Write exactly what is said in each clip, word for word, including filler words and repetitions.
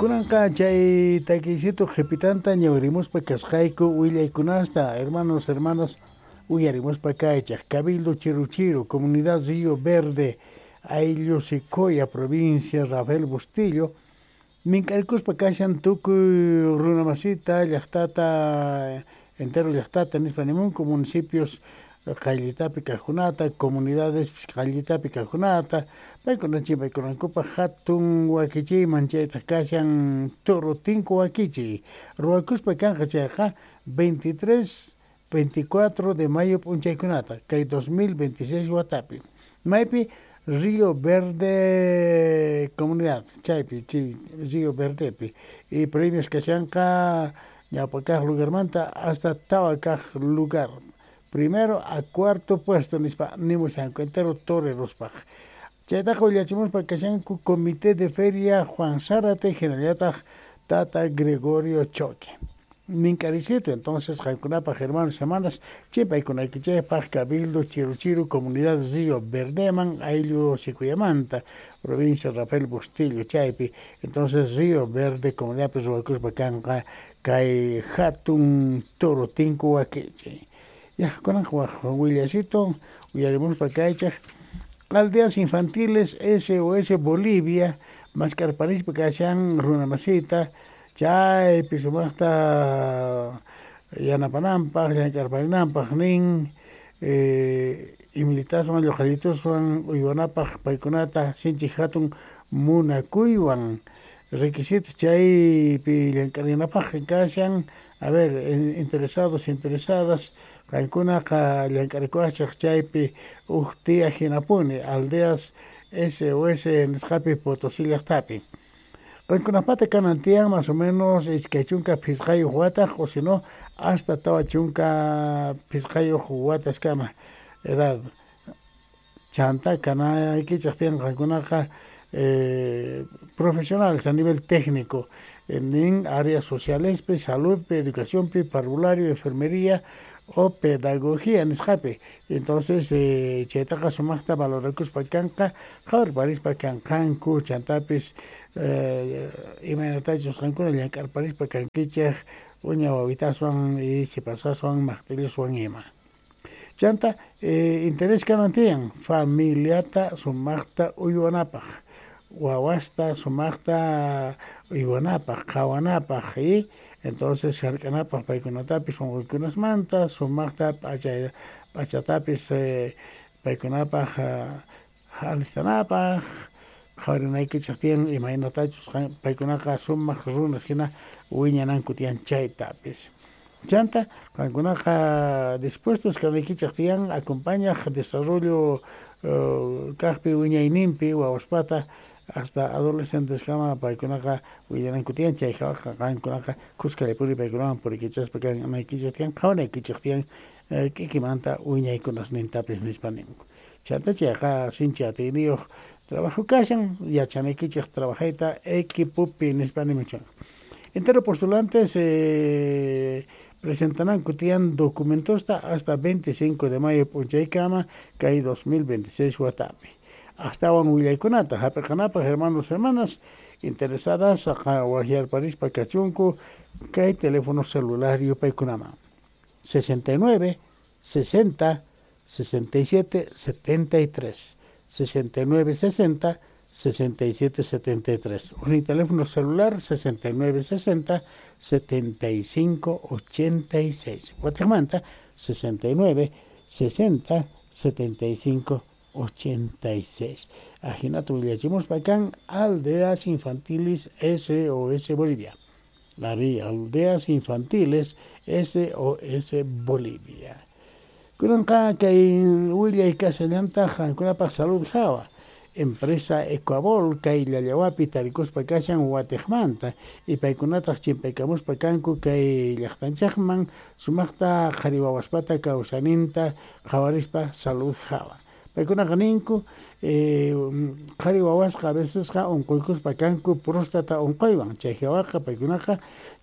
Kunanqa chay takiysitu qhipitanta ñawirimuspa kasqayku willaykunasta, hermanos, hermanas, uyarimuspa kaychaq Cabildo Chiruchiru, Comunidad Río Verde, Ayllu Secoya, provincia Rafael Bustillo, mink'arikuspa kashan tukuy runamasita llaqtata, entero llaqtata nispa nimunku, municipios qayllitapi kaqkunata, comunidades qayllitapi kaqkunata, paykuna chimpaykunankupaq hatun wakichiyman chaytaq kashan toro tinku wakichiy ruwakuspa kanqa chayqa veintitrés, veinticuatro de mayo p'unchaykunata kay dos mil veintiséis watapi maypi Río Verde comunidad chaypi chay Río Verdepi y premios kashanqa ñawpa kaq lugarmanta hasta tawa kaq lugar, primero a cuarto puesto nispa nimushanku entero torerospaq. Chaytaqa willachimuspa kashanku Comité de Feria Juan Zárate hinallataq Tata Gregorio Choque. Mink'aricito, entonces qankunapaq hermanos, hermanas, chimpaykunaykichikpaq Cabildo Chiruchiru, Comunidad Río Verdeman, Ayllu Sicuyamanta, provincia Rafael Bustillo chaypi. Entonces Río Verde, comunidad ruwakuspa kanqa kay hatun toro tinku wakichi. Ya, kunanqa waq willasito uyarimuspa kaychaq Aldeas Infantiles S O S Bolivia, maskarparispa kashan runamasita, chaypi sumaqta yanapananpaq, llank'arparinanpaq nin, eh, imilitaswan lluqallituswan uywanapaq paykunata sinchi hatun munakuywan requisitos chaypi llank'arinapaq kashan. A ver, interesados, interesadas, qankunaqa llank'arikuwachaq chaypi uj tiya hinapuni Aldeas S O S nisqapi Potosí llaqtapi. Qankunapata kanan tiyan más o menos iskay chunka phisqayuq wataq o si no hasta tawa chunka phisqayuq wataskama edad. Chanta kanaykichaq tiyan qankunaqa eh, profesionales a nivel técnico en áreas sociales, salud, educación, parvulario, enfermería o pedagogía nisqapi. Entonces, eh, chaytaqa sumaqta valorakuspa kanqa, qhawarparispa kanqanku, chantapis eh, imaynatachus qankuna llank'arparispa kankichaq uña wawitaswan y sipasaswan maqtilluswan ima. Chanta, eh, interés kanan tiyan familiata sumaqta uywanapaq, wawasta sumaqta uywanapaq, qhawanapaq y entonces hark'anapaq paykunatapis unquykunasmanta sumaqta p'acha p'achatapis eh, paykunapaq alistanapaq qhawarinaykichaq tiyan imaynatachus paykunaqa sumaq runas hina wiñananku tiyan chaytapis. Chanta qankunaqa dispuestos kanaykichaq tiyan acompañaq desarrollo uh, kaqpi wiñayninpi wawaspata hasta adolescentes kama paykunaqa willananku tiyan chay hawaqa qankunaqa kuskallapuri paykunawan purikichaspa kanaykichaq tiyan qhawanaykichaq tiyan k'ikimanta wiñaykunasnintapis nispa ninku. Chanta chayqa sinchi atiyniyuq trabajo kashan yachanaykichaq trabajayta equipopi nispa nimuchan. Entero postulantes eh, presentarán tiyan documentosta hasta veinticinco de mayo p'unchaykama kay dos mil veintiséis watapi. Astawan willaykunata hap'iqanapaq hermanos, hermanas interesadas waqyarparispa kachunku kay teléfono celular yupaykunaman sesenta y nueve, sesenta, sesenta y siete, setenta y tres, sesenta y nueve, sesenta, sesenta y siete, setenta y tres. Un teléfono celular sesenta y nueve, sesenta, setenta y cinco, ochenta y seis. Guatemala sesenta y nueve, sesenta, setenta y cinco, ochenta y seis. Ajinato willachimuspa kan Aldeas Infantiles S O S Bolivia. La Aldeas Infantiles S O S Bolivia. Kunanqa kay willay kashallantaq qankunapaq salud hawa. Empresa Ecuabol kay llallawapi tarikuspa kashan watiqmanta y paykunataq chimpaykamuspa kanku kay llaqtanchaqman sumaqta qhari wawaspata kawsaninta qhawarispa salud hawa. Paykunaqa ninku eh, qhari wawasqa a vecesqa unquykuspa kanku próstata unquywan chay hawaqa paykunaqa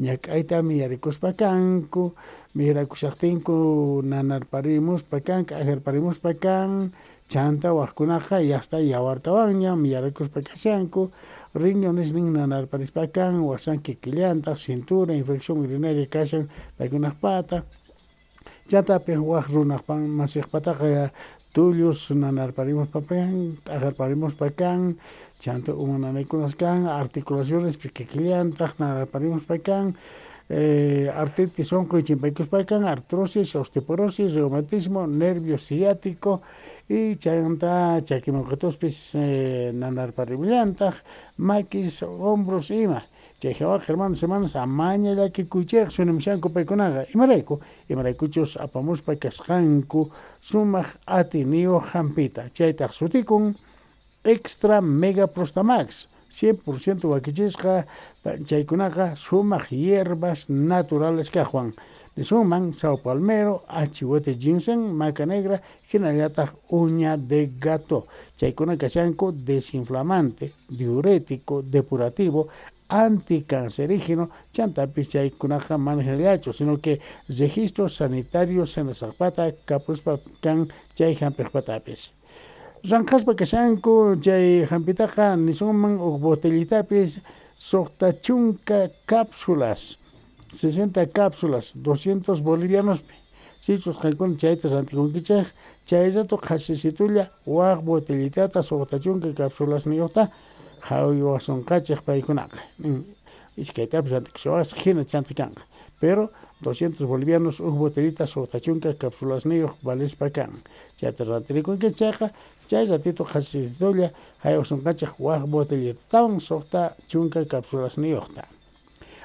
ñak'ayta miyarikuspa kanku mirakushaqtinku nanarparimuspa kan k'ajarparimuspa kan chanta waqkunaqa yasta yawartawanña miyarikuspa kashanku Riñones nin nanarparispa kan, wasan kikillantaq, cintura, infección urinaria kashan paykunaqpata. Chantapis waq runaqpan masiqpataqa tullus nanarparimuspa kan, t'aqarparimuspa kan, chanta uma nanaykunas kan, articulaciones kikillantaq nanarparimuspa kan, eh, artritis unquy chimpaykuspa kan, artrosis, osteoporosis, reumatismo, nervio ciático y chanta chakimawqituspis eh, nanarparimillantaq, maquis, hombros ima. Chay hawaqa hermanos, hermanas, amaña llakikuychikchu nimushanku paykunaqa. Imarayku? Imaraykuchus apamuspa kasqanku sumaq atiniyuq hampita. Chaytaq sutikun Extra Mega Prostamax, cien por ciento wakichisqa, chaykunaqa sumaq hierbas naturales kaqwan. Nisunman sao palmero, achihuete ginseng, maca negra, hinallataq uña de gato. Chaykuna kashanku desinflamante, diurético, depurativo, anticancerígeno, chantapis chaykunaqa mana hinallachu, sino que registros sanitarios senasaqpata kapuspa kan chay hampiqpatapis. Ranqaspa kashanku chay hampitaqa nisunman huk botellitapis suqta chunka cápsulas, sesenta cápsulas, doscientos bolivianospi. Sichus qankuna chayta rantikunkichik, chay rato qhasisitulla waq botellitata suqta chunka cápsulasniyuqta haywasunqachik paykunaqa. Iskaytapis rantikushawasqa hina chanta kanqa. Pero doscientos bolivianos huk botellita suqta chunka cápsulasniyuq valispa kan. Chayta rantirikunkichik chayqa, chay ratito qhasisitulla haywasunqachik waq botellitawan suqta chunka cápsulasniyuqta.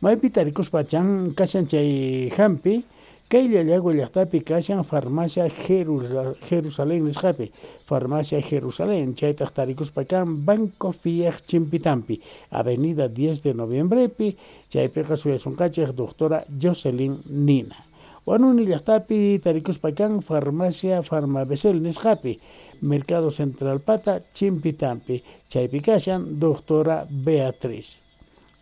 Maypi tarikuspa chan kashan chay hampi, kay Llallagua llaqtapi kashan farmacia Jerusalén nisqapi, farmacia Jerusalén, chaytaq tarikuspa kan Banco Fiaj Chimpitampi, Avenida diez de Noviembrepi, chaypiqa suyasunqachik doctora Jocelyn Nina. Huanuni llaqtapi tarikuspa kan farmacia Farmabesel nisqapi, Mercado Central Pata Chimpitampi, chaypi kashan doctora Beatriz.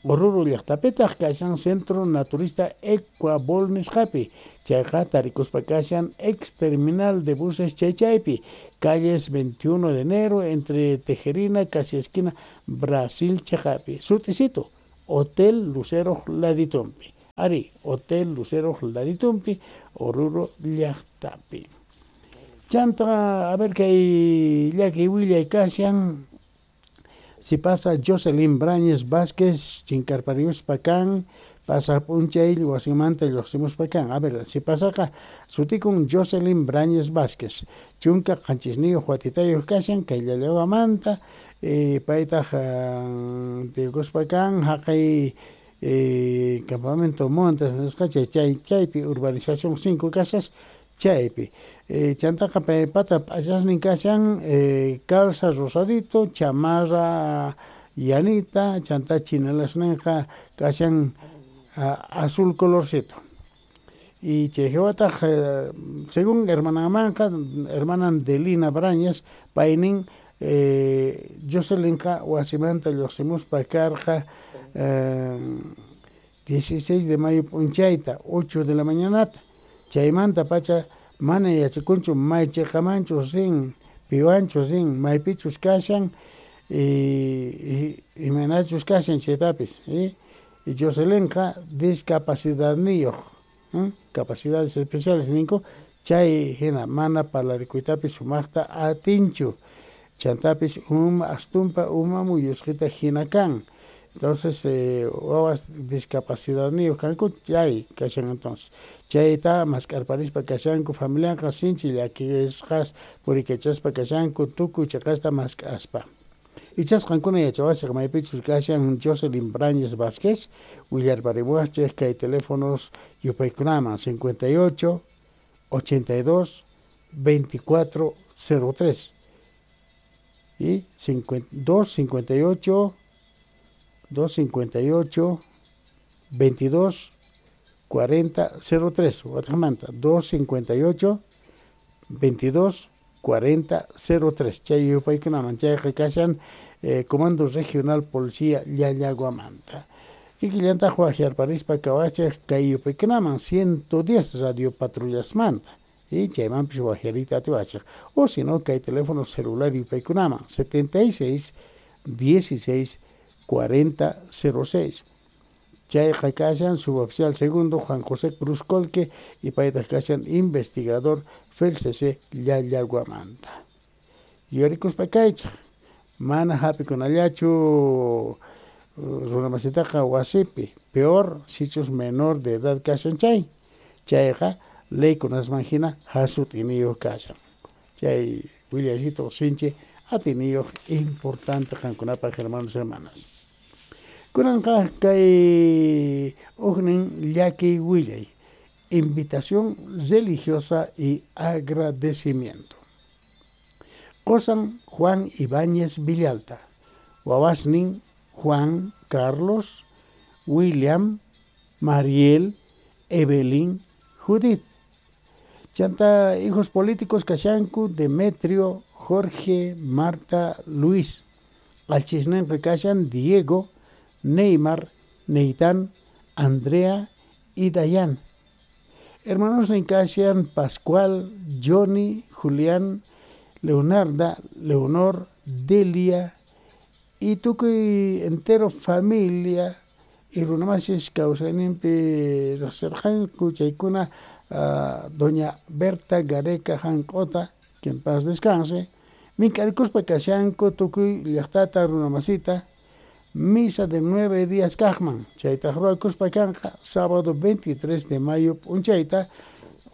Oruro llaqtapitaq kashan Centro Naturista Ecuabol nisqapi, chayqa tarikuspa kashan ex terminal de buses chaychaypi, calles veintiuno de enero entre Tejerina, casi esquina Brasil chaqapi, sutisito, Hotel Lucero Laditumpi. Ari, Hotel Lucero Laditumpi, Oruro llaqtapi. Chanta, a ver kay llaki willay kashan. Si pasa Jocelyn Brañez Vázquez, chinkarpariuspa kan, pasa p'unchay wasimanta lluqsimuspa kan. A ver, si pasaqa sutikun Jocelyn Brañez Vázquez, chunka qanchisniyuq watitayuq kashan kay Llallaguamanta, eh, paytaq tiyukuspa kan haqay eh, campamento Montes nisqa chay chay chaypi urbanización cinco casas chaypi. Eh, chantaqa paypata p'achasnin kashan eh, calza rosadito, chamarra llanita, chanta chinalasninqa kashan azul colorcito. Y chay hawataq eh, según hermanamanqa, hermanan Delina Brañez, paynin eh, Jocelynqa wasimanta lluqsimuspa karqa eh, dieciséis de mayo p'unchayta, ocho de la mañanata. Chaymanta pacha mana yachakunchu may chiqamanchu rin, piwanchu rin, maypichus kashan, y imaynachus kashan chaytapis. Y Jocelynqa discapacidadniyuq, capacidades especiales ninku, chay hina mana parlarikuytapis sumaqta atinchu. Chantapis uma astumpa uma muyusqita hina kan. Entonces, eh, wawas discapacidadniyuq kanku chay kashan entonces. Chayta mask'arparispa kashanku familiaqa sinchi llakisqas purikachaspa kashanku tukuy chiqasta mask'aspa. Ichas qankuna yachawasaq maypichus kashan Jocelyn Brañez Vázquez, willarparimuwachik kay teléfonos yupaykunaman cincuenta y ocho, ochenta y dos, veinticuatro, cero tres y dos cincuenta y ocho, dos cincuenta y ocho, veintidós, cuarenta, cero tres. Wataqmanta, dos cincuenta y ocho, veintidós, cuarenta, cero tres. Chay yupaykunaman chayqa kashan eh, Comando Regional Policía Llallaguamanta. Kikillantaq waqyarparispa kawachik kay yupaykunaman ciento diez radio patrullasmanta. Y chaymanpis waqyariyta atiwachik. O si no, kay teléfono celular yupaykunaman setenta y seis, dieciséis, cuarenta cero seis. Chayqa kashan suboficial segundo Juan José Cruz Colque y paytaq kashan investigador F E L C C Llallaguamanta. Yuyarikuspa kaychaq, mana hap'ikunallachu runamasitaqa wasipi, peor sichus menor de edad kashan chay, chayqa leykunasman hina hasut'iniyuq kashan. Chay willaycito sinchi atiniyuq importante qankunapaq, hermanos, hermanas. Kunanqa kay huknin llakiy willay, invitación religiosa y agradecimiento. Qosan Juan Ibáñez Villalta, wawasnin Juan Carlos, William, Mariel, Evelyn, Judith. Chanta hijos políticos kashanku Demetrio, Jorge, Marta, Luis. Allchhisninqa kashan Diego, Neymar, Neitán, Andrea y Dayan. Hermanosnin kashan Pascual, Johnny, Julián, Leonarda, Leonor, Delia y tukuy entero familia y runamasis kawsayninpi riqsirqanku chaykuna uh, doña Berta Gareca Jank'ota, que en paz descanse, mink'arikuspa kashanku tukuy llaqtata runamasita misa de nueve días kaqman, chaytaq ruwakuspa kanqa sábado veintitrés de mayo p'unchayta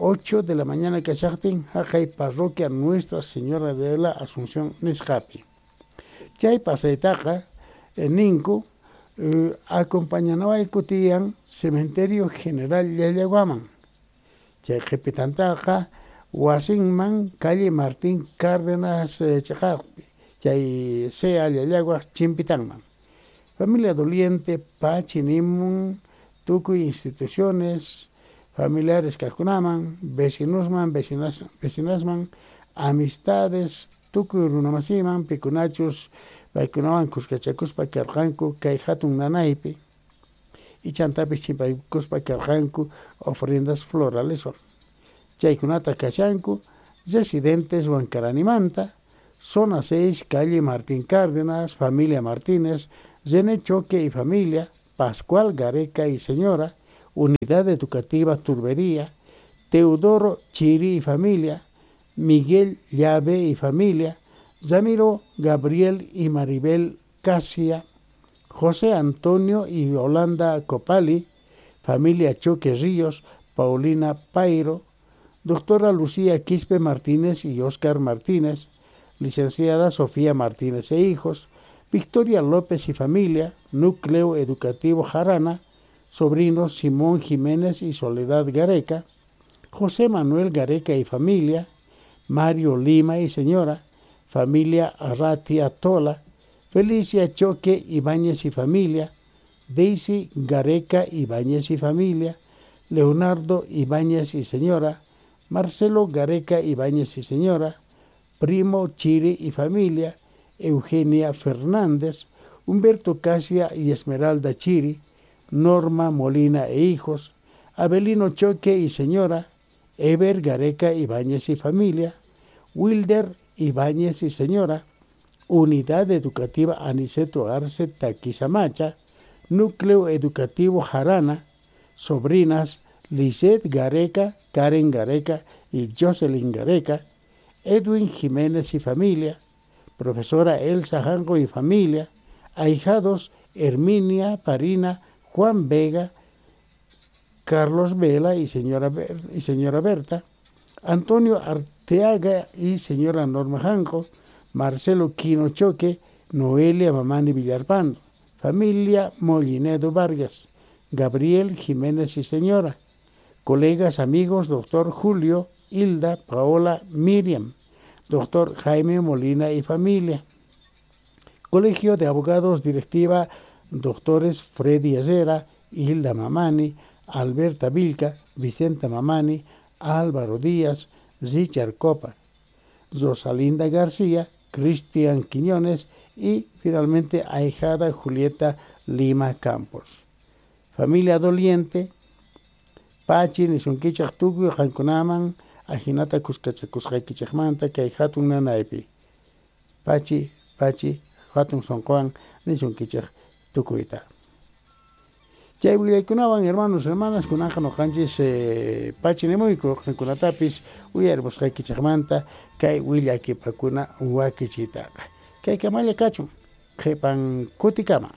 ocho de la mañana kashaqtin haqay parroquia Nuestra Señora de la Asunción nisqapi. Chay pasaytaqa eh, ninku eh, acompañanawayku tiyan Cementerio General Llallaguaman. Chay qhipitantaqa wasinman calle Martín Cárdenas eh, chiqaqpi, chay C E A Llallagua chimpitanman. Familia doliente pachi nimun tukuy instituciones familiares kaqkunaman, vecinosman, vecinas, vecinasman, amistades, tukuy runamasiman, pikunachus paykunawan kuskachakuspa karqanku kay hatun nanaypi y chantapis chimpaykuspa karqanku ofrendas floraleswan. Chaykunata kashanku residentes Huancaranimanta, zona seis, calle Martín Cárdenas, familia Martínez, René Choque y familia, Pascual Gareca y señora, Unidad Educativa Turbería, Teodoro Chiri y familia, Miguel Llave y familia, Ramiro Gabriel y Maribel Casia, José Antonio y Yolanda Copali, familia Choque Ríos, Paulina Pairo, doctora Lucía Quispe Martínez y Oscar Martínez, licenciada Sofía Martínez e hijos, Victoria López y familia, Núcleo Educativo Jarana, sobrinos Simón Jiménez y Soledad Gareca, José Manuel Gareca y familia, Mario Lima y señora, familia Arratia Tola, Felicia Choque Ibáñez y familia, Daisy Gareca Ibáñez y familia, Leonardo Ibáñez y señora, Marcelo Gareca Ibáñez y señora, Primo Chiri y familia, Eugenia Fernández, Humberto Casia y Esmeralda Chiri, Norma Molina e hijos, Abelino Choque y señora, Ever Gareca Ibáñez y familia, Wilder Ibáñez y señora, Unidad Educativa Aniceto Arce Taquizamacha, Núcleo Educativo Jarana, sobrinas Lisette Gareca, Karen Gareca y Jocelyn Gareca, Edwin Jiménez y familia, profesora Elsa Jango y familia, ahijados Herminia Parina, Juan Vega, Carlos Vela y señora, y señora Berta, Antonio Arteaga y señora Norma Jango, Marcelo Quino Choque, Noelia Mamani Villarpando, familia Molinedo Vargas, Gabriel Jiménez y señora, colegas, amigos, doctor Julio, Hilda, Paola, Miriam, doctor Jaime Molina y familia. Colegio de Abogados, directiva, doctores Freddy Herrera, Hilda Mamani, Alberta Vilca, Vicente Mamani, Álvaro Díaz, Richard Copa, Rosalinda García, Cristian Quiñones y finalmente ahijada Julieta Lima Campos. Familia doliente, pachi nisunkichaq tukuy qankunaman ajinata kuskachakusqaykichaqmanta kay hatun nanaypi. Pachi, pachi, hatun sunquwan nisunkichaq. Tukuyta. Chay willaykunawan, hermanos, hermanas, kunanqa nuqanchis eh, pachinimuyku qankunatapis uyarimusqaykichikmanta kay willakipakuna wakichiytaqa. Kay kamalla kachun qhipan kutikama.